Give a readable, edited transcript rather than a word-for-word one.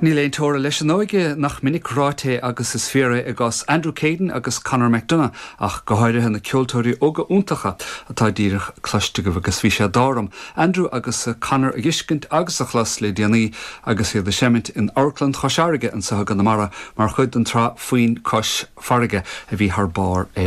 Níl aon teora leis an óige, nach minic ráite é agus is fíor é i gcás Andrew Caden agus Conor McDonagh ach go háirithe, na ceoltóirí óga iontacha atá díreach cloiste agaibh agus bhí sé d'ádh orm Andrew agus Conor a dh'fheiscint agus a chlos le déanaí agus iad ag seimint in Amharclann Chois Fharraige anseo i gConamara mar chuid den tsraith Foinn Cois Farraige a bhí thar barr ar.